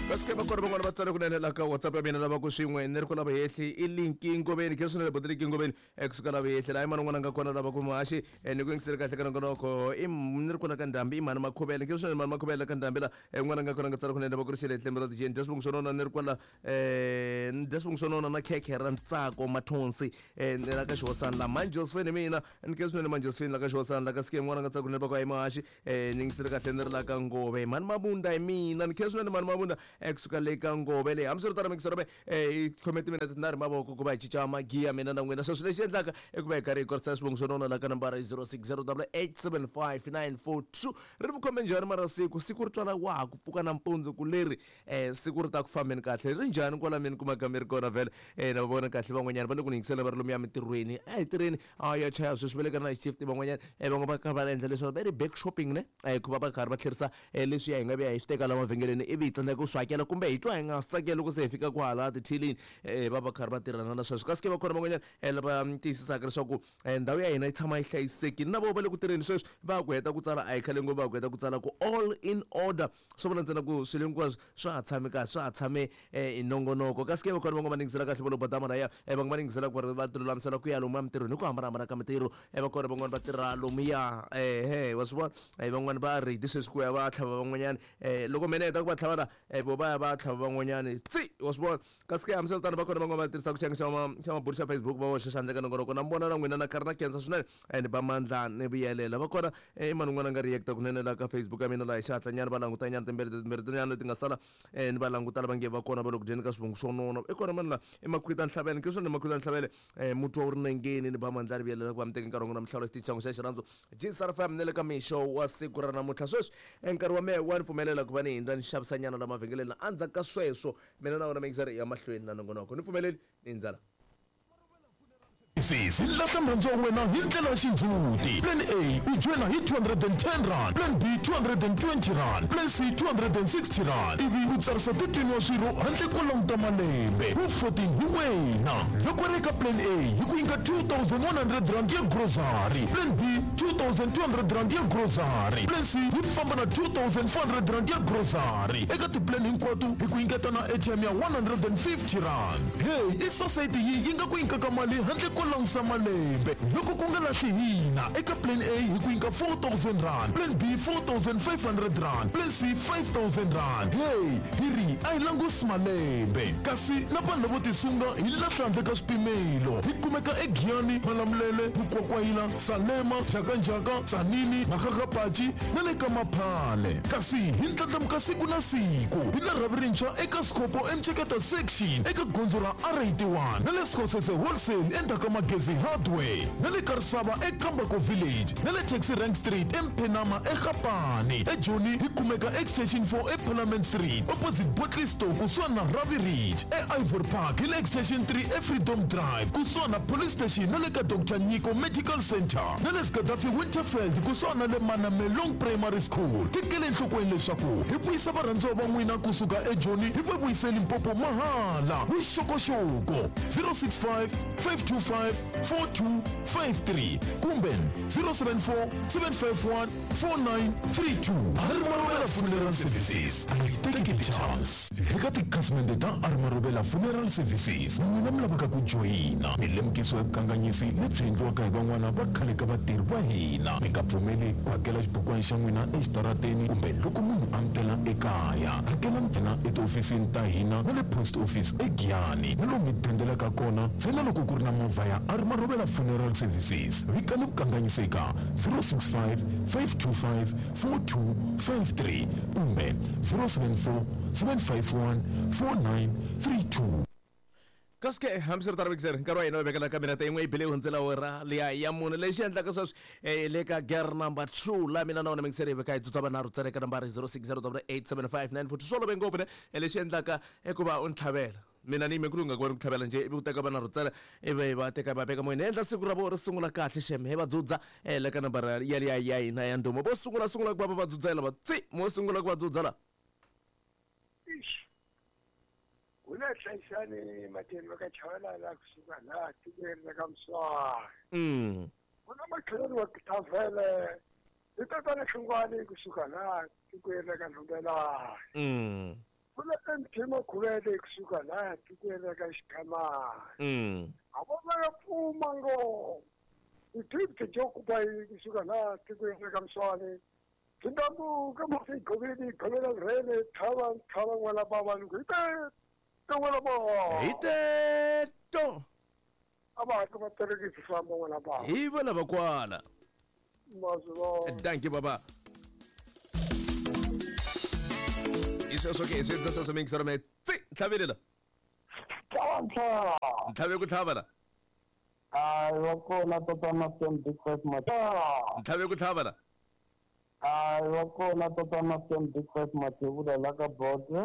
Kasi va kona van'wana va tsale kunene la ka WhatsApp ya mina lava ku swin'we ni ri ku lava hehli i linki ngoveni khe swinene boti linki ngoveni kusuka lava hehli laha i mani un'wana a nga kona lava ku muhaxi ni ku yingisele kahle ka nongonoko i ni ri kwala ka ndhambi i mhani makhuvele khe swinene mhani makhuvele ka ndhambi la un'wana a nga kona a nga tsala kunene va ku ri xele tlembe ra tijeni dya swivungu swo nona ni ri kwala ni dya swivungu swo nona na khekhe ra ntsako mathonsi ni la ka xihosana la mhani Josephine mina ni khe swinene mhani Josephine la ka xihosana la ka sike un'wana a nga tsala kunene va ku a yi muhaxi ni yingisele kahle ni ri la ka ngove mhani mabunda hi mina ni khe swinene mhani mabunda kusuka le ka ngove leyi hambiswiritano mikisero me hi khome timinete tinharhu hi mavoko ku va hi cinca magiya mina na n'wina sweswi lexi endlaka i ku va hi karhi hi korisa swivongo swo nona la ka nambara 0608875942 ri mi khome njhani mara siku siku ri twala wa ha ku pfuka nampundzu ku leri siku ri ta ku fambeni kahle ri njhani kwala mi ni kumaka mi ri kona vhele na va vona kahle van'wanyana va le ku ni yingisela va ri lomuya mintirhweni a hi tirheni a ya chaya sweswi va le ka night shift van'wanyana van'we va kha va endla leswi va ri back shopping ne hikuva va karhi va tlherisa leswiya hi nga vuya hi swi teka la mavhengeleni ivi hi tsandzeka ku swi hakela kumbe hi twa hi nga swi tsakeli loko se hi fika kwahala tithilini va va karhi va tirhana na sweswo kasi ke va kona van'wanyana lava tiyisisaka leswaku ndhawu ya hina yi tshama yi hlayisekile na vo va le ku tirheni sweswi va ku heta ku tsala a hi khale ngopfu va ku heta ku tsala ku all in order swi vula ntsena ku swilo hinkwaswo swa ha tshami kahle swa ha tshame hi nongonoko kasi ke va kona van'wana va ningisela kahle va lo badama laya van'we va ningisela ku ri va tilulamisela ku ya lomu emitirhweni hi ku hambanahambana ka mitirho va kona van'wana va tirha lomuya ehe wa swi vona van'wana va ready sweswi ku ya va tlhava van'wanyana loko mene heta ku va tlhava la vo va ya va tlhava van'wanyana tsi wa swi vona kasi ke hambiswiritano va kona van'wana va tirhisaka xiyenge xa ma xa mabulu xa Facebook va hoxa xandla ka nongonoko na mi vona na n'wina na karhi na khensa swinene and va mandla ni vuyelela va kona i mani un'wana a nga react kunene la ka Facebook ya mina laha hi xihatla nyana va languta nyana timbirhi timbirhi tinyana leti nga sala ni va languta lava nge va kona va le ku dyeni ka swivungu swo nona i kona mani la i Makhwita Ntlhavele ke swona Makhwita Ntlhavele mutwa wu ri nengeni ni ba mandla ri vuyelela ku va mi teke nkarhi wa n'wina mi hlawula xitichi xa n'wina xa xirhandzu GSRFM ni le ka mixo wa siku ra namuntlha sweswi nkarhi wa mehe wa ni pfumelela ku va ni hindza ni xavisa nyana la mavhengeleni endzhaku ka sweswo Mina na wena muyingiseri hi ya mahlweni na nongonoko. Ni pfumeleli ni hindza la. Sesi, lahla murhandziwa wa wena hi ndlela ya xindzhuti. Plan A, u joyina hi R210, Plan B R220, Plan C R260, ivi u tsarisa 13 wa swirho handle ko languta malembe. Wu 14 hi wena. Loko ri eka Plan A, hi ku nyika R2100 ya grocery, Plan B R2200 ya grocery, Plan C yi famba na R2400 ya grocery. Eka ti-plan hinkwato hi ku nyiketa na airtime ya R150. Heyi i sosayiti yihi yi nga ku nyikaka mali handle ko langusa malembe? Loko ku nga lahli hina, eka plan A hi ku nyika R4000, plan B R4500, plan C R5000. Heyi hi ri a hi langusi malembe. Kasi na vanhu lavo tisunga hi lahla handle ka swipimelo. Hi kumeka eGiyani, Malamulele, Mukwakwayila, Salema, Njhakanjhaka, Tzaneen, Makgakgapachi na le ka Maphale. Kasi hi ndlandlamuka siku na siku hi na rhavi rintshwa eka Skhopho eMceketa Section eka gondzo ra R81 na le Skhosese Wholesale endzhaku ka Magezi Hardware na le Karisava eKambako Village na le Taxi Rank Street eMphenama eGapane. EJoni hi kumeka Extension 4 eParliament Street opposite Bottle Store kusuhani na Rhavi Ridge. E-Ivory Park hi le Extension 3 eFreedom Drive kusuhani na Police Station na le ka Doctor Nyiko Medical Centre na le Gaddafi Winterveld kusuhani na le Manamelong Primary School. Tekela enhlokweni leswaku hi vuyisa varhandziwa va n'wina kusuka eJoni hi va vuyise eLimpopo mahala. Vuxokoxoko 065 525 4253 kumbe 074 751 4932. Arimarovela Funeral Services a yi teki ti-chance. Eka tikhasimende ta Arimarovela Funeral Services, n'wina mi lavaka ku joyina, mi lemukisiwa hi vukanganyisi lebyi endliwaka hi van'wana va khale ka vatirhi va hina. Mi nga pfumeli ku hakela xibukwana xa n'wina exitarateni kumbe loko munhu a mi tela ekaya. Hakela ntsena etihofisini ta hina na le Post Office eGiyani na lomu mi dendelaka kona ntsena loko ku ri na movha ya Arimarovela Funeral Services. Vikani vukanganyisi eka 065 525 4253 kumbe 074 751 4932. Kasi ke hambiswiritano vekiseri nkarhi wa hina wo vekela ka minete yin'we yi bile yi hundzela awara liya ya mune lexi endlaka sweswi eh, le ka gear number 2 la mina na wena mingiseri hi veka hi dzudza vanharhu ntsena eka nambara 060 875 swi olove ngopfu ne eh, lexi endlaka i ku va u ni tlhavela mina ni yime ku lunga ku va ni ku tlhavela njhe ivi ku teka vanharhu ntsena ivi va teka va veka moyeni endla siku ra vo ri sungula kahle xem hi va dzudza eh, le ka nambara yaliya ya hina ya ndhumo vo sungula sungula ku va va va dzudzela va tsi mo sungula ku va dzudza la Eish. Ku na hlayisani mateni va ka chavalala kusuka laha tikweni ra ka Mswari. Ku na makhelwani wa Kitavele hi tatana Hlungwani kusuka laha tikweni ra ka Nhumbelani. Ku na MT Makhuvele kusuka laha tikweni ra ka Xikhamani. A vona ya pfuma ngo. Ti jokupa kusuka laha tikweni ra ka Mswani. Tindambu ka masi goveni govela rhele thava thava n'wana bava ni ku hi te n'wana bava. Hi teto. A va ha va terekisi famba n'wana bava. Hi vona va kwala. Mazwi. Dankie baba. Hi sweswo ke hi swi endla sweswo mingisero me tsi ntlhavelela. Tlhantlha. Ntlhave ku tlhava la. Hayi wa kona tatana Sam Big Five Mathebula. Ntlhave ku tlhava la. Hayi wa kona tatana Sam Big Five Mathebula la ka Bodwe.